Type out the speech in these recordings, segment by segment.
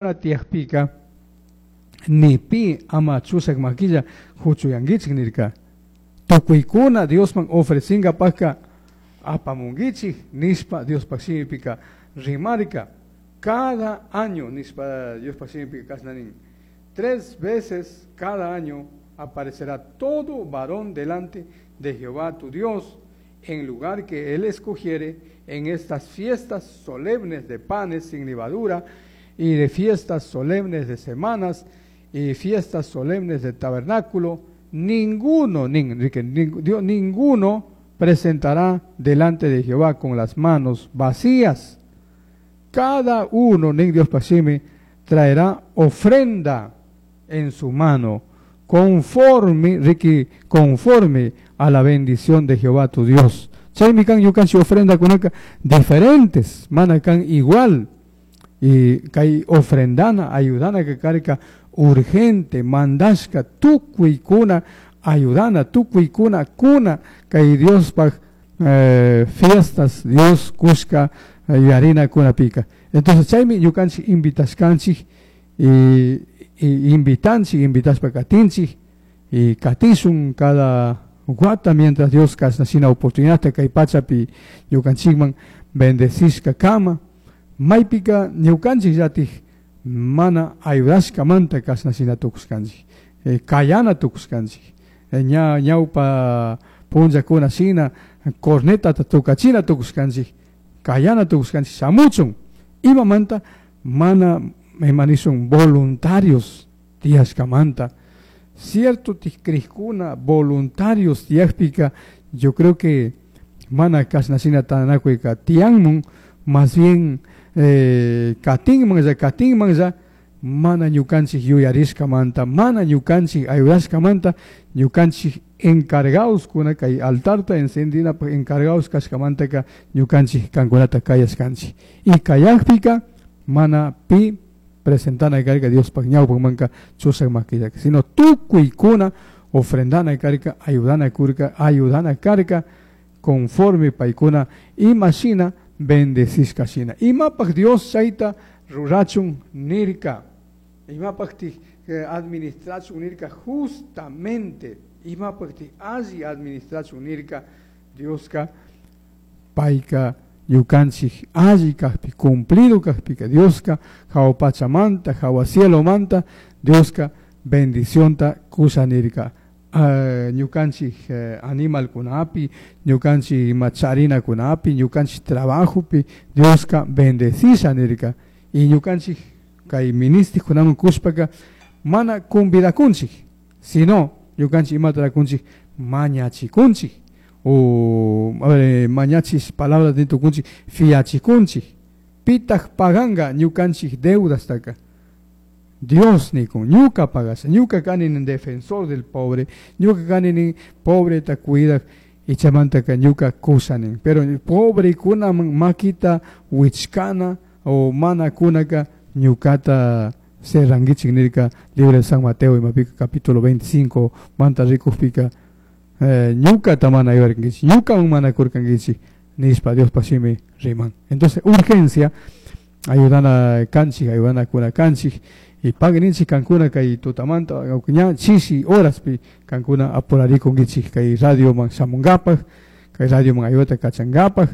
Tiyajpika ni pi ama chushak makilla huchuyankichik nirka. Tukuykuna Diosman ofrecingapajka apamunkichik nishpa Diospaj shimipika rimarka. Cada año nishpa Diospaj shimipika kashna nin: tres veces cada año aparecerá todo varón delante de Jehová tu Dios en lugar que él escogiere en estas fiestas solemnes de panes sin levadura y de fiestas solemnes de semanas y fiestas solemnes de tabernáculo. Ninguno, ninguno presentará delante de Jehová con las manos vacías. Cada uno, nin Dios pasimi, traerá ofrenda en su mano, conforme, Ricky, conforme a la bendición de Jehová tu Dios. Chaymi kan ñukanchik ofrenda kunaka diferentes, mana kan igual. Y kay ofrendana, ayudana que karka urgente, mandashka, tukuykuna ayudana, tukuykuna kuna, kay Diospaj fiestas, Dios kushka yarina kunapika. Entonces chaymi ñukanchik invitashkanchik y invitanchik, invitashpa katinchik y katishun cada wata mientras Dios kashna shina oportunidad kay pachapi ñukanchikman bendecishka kama. Maypika ñukanchik llatik mana ayudashkamanta kashna shina tukushkanchik, kayana tukushkanchik, ña ñawpa punllakuna shina cornetata tukachina tukushkanchik, kayana tukushkanchik shamuchun. Imamanta mana imanishun voluntarios tiyashkamanta. Cierto tikrijkuna voluntarios tiyakpika, yo creo que mana kashna shina tanakuyka tiyanmun, más bien katinman ya mana ñukanchik yuyarishkamanta, mana ñukanchik ayudashkamanta, ñukanchik encargados kuna kay altarta encendinapaj encargados kashkamantaka ñukanchik kankunata kayashkanchik. Y kayakpika mana pi presentana karka Diospaj ñawpajmanka chushak makillaka, sino tukuykuna ofrendana karka, ayudana kurka, ayudana karka conforme paykuna ima shina bendecishka shina. Imapaj Dios chayta rurachun nirka, imapaj administrachun nirka, justamente imapaj alli administrachun nirka Dioska payka ñukanchik alli kajpi, cumplido kajpika Dioska jawa pachamanta, jawa cielomanta Dioska bendicionta kusha nirka. Ñukanchik animalkunapi, ñukanchik ima charinakunapi, ñukanchik trabajopi Dioska bendecisha nirka. Y ñukanchik kay ministikunaman kushpaka mana convidakunchik, sino ñukanchik imata rakunchik mañachikunchik, o a ver, mañachis palabras de tukunchik, fiachikunchik. Pitaj paganga ñukanchik deudastaka Dios nikun, ñuka pagasha, ñuka kani nin defensor del pobre, ñuka kani nin pobre ta cuida y chamantaka ñuka kusha nin. Pero pobre kuna makita wichkana o mana kunaka ñukata serranguichik nirka libro de San Mateo imapika capítulo 25 manta rikujpika ñukata mana ayudarkankichik, ñukaman mana kurkankichik nishpa Dios pashimi riman. Entonces urgencia ayudana kanchik, ayudana kuna kanchik. Y pagninchik kankuna kay tutamanta ña chishi horaspi kankuna apurarikunkichik kay radioman shamunkapaj, kay radioman ayudata kachankapaj.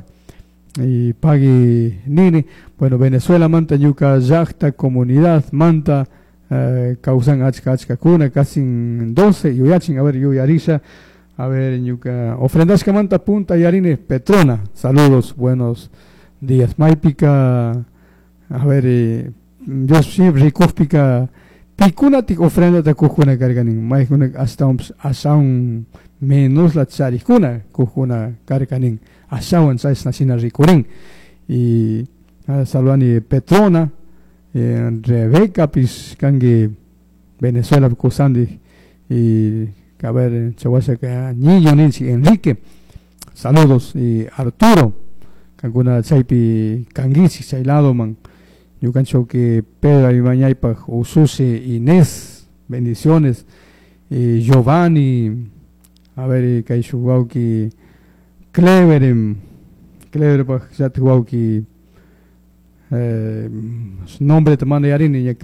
Y pagui nini, bueno, Venezuela manta ñuka llaqta comunidad manta kawsan achka achka kuna casi 12 yuyachin, a ver yuyarisha, a ver ñuka ofrendashka manta punta yarini Petrona, saludos, buenos días. Maypika, a ver, Dios siempre rikujpika pikunatik ofrendata kujkuna karkanin, maykuna ashtawanpish ashawan menosla charikuna kujkuna karkanin, ashawan chashna shina rikurin. Y saludani Petrona, Rebeca pish kanki Venezuela kusandi, y a ver chawashaka niño ninchik Enrique, saludos. Y Arturo kankuna chaypi kankichik chay ladoman. Ñukanchik que Pedro Ibañaypaj ususi Inés, bendiciones. Y Giovanni, a ver kay shuk wawki Clever, Clever paj llatik wawki Eh, nombreta mana yarini.